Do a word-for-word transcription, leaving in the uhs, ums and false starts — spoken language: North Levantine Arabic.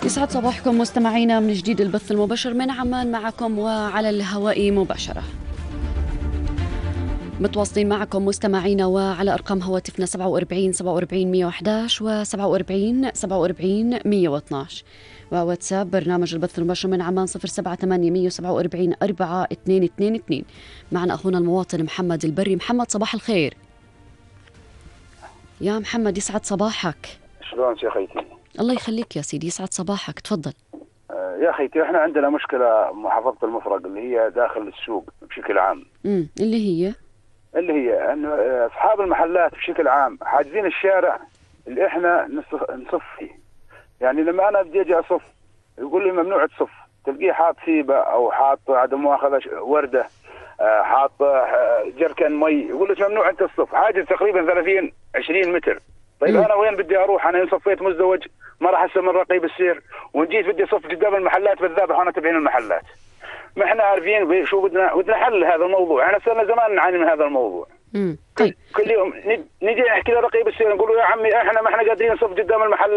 يسعد صباحكم مستمعينا من جديد البث المباشر من عمان معكم وعلى الهواء مباشرة. متواصلين معكم مستمعينا وعلى أرقام هواتفنا سبعة وأربعين سبعة وأربعين مية وإحدى عشر و سبعة وأربعين سبعة وأربعين مية واثني عشر، وواتساب برنامج البث المباشر من عمان صفر سبعة ثمانية مية وسبعة وأربعين أربعة اثنين اثنين اثنين. معنا أخونا المواطن محمد البري. محمد صباح الخير. يا محمد يسعد صباحك. شلون يا خيتي؟ الله يخليك يا سيدي، يسعد صباحك، تفضل. آه يا خيتي، احنا عندنا مشكلة محافظة المفرق اللي هي داخل السوق بشكل عام. امم اللي هي اللي هي انه اصحاب المحلات بشكل عام حاجزين الشارع اللي احنا نصف, نصف فيه. يعني لما انا بدي اجي اصف يقول لي ممنوع تصف، تلقيه حاط سيبه او حاط عدم مؤاخذة ورده، آه حاط آه جركن مي، يقول لك ممنوع انت تصف. حاجز تقريبا ثلاثين عشرين متر. طيب م. انا وين بدي اروح؟ انا ان صفيت مزدوج ما راح اسمر رقيب السير، وان جيت بدي اصف قدام المحلات بالذابح وانا تبعين المحلات. ما احنا عارفين شو بدنا بدنا حل هذا الموضوع. احنا صرنا زمان نعاني من هذا الموضوع. امم طيب كل يوم نجي نحكي لرقيب السير نقول له يا عمي احنا ما احنا قادرين نصف قدام المحلات.